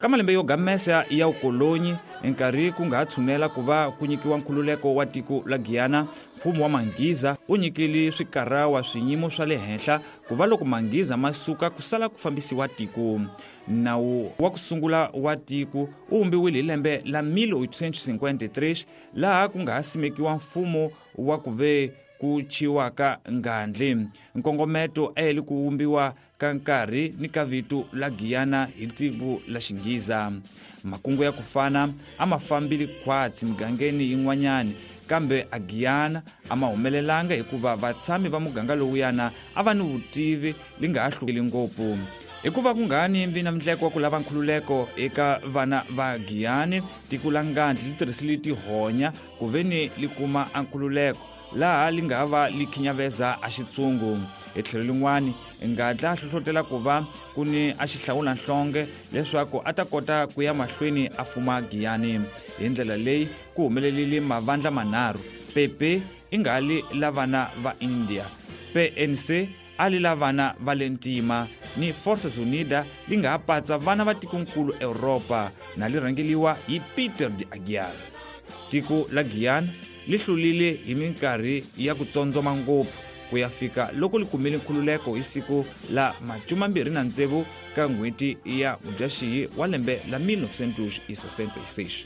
Ka malembe yo gamesa ya vukolonyi, nkarhi ku nga ha tshunela ku va ku nyikiwa nkhululeko wa tiko la Giyana, mfumo wa Manghiza wu nyikile swikarawa swinyimo swa le henhla ku va loko Manghiza ma suka ku sala ku fambisiwa tiko. Nawu wa ku sungula wa tiko wu vumbiwile hi lembe la 1853 laha ku nga ha simekiwa mfumo wa ku ve ku chiwaka ngandli. Nkongometo a yi ku vumbiwa ka nkarhi ni ka vito la Giyana hi tiko la Xinghiza. Makungu ya ku fana a ma fambile khwatsi migangeni yin'wanyani, kambe a Giyana a ma humelelanga hikuva vatshami va muganga lowuyana a va ni vutivi li nga ha hlukeli ngopfu. Hikuva ku nga ni vi na mndleko wa ku lava nkhululeko eka vana va Giyani, tiko la ngandli li tirhisile tihonya ku ve ni li kuma a nkhululeko laha li nga va li khinyaveza a xitsungu. Hi tlhelo lin'wani, ngadla a hlohlotela ku va ku ni a xihlawula nhlonge leswaku a ta kota ku ya mahlweni a fuma Giyani. Hi ndlela leyi ku humelelile mavandla manharhu: Pepe i nga li la vana va India, PNC a li la vana va le ntima, ni Forças Unidas li nga ha patsa vana va tikonkulu Europa na li rhangeliwa hi Peter de Aguiar. Tiko la Giyani li hlulile hi minkarhi ya ku tsondzoma ngopfu ku ya fika loko li kumile nkhululeko hi siku la 26 ka n'hweti ya Mudyaxihi wa lembe la 1966.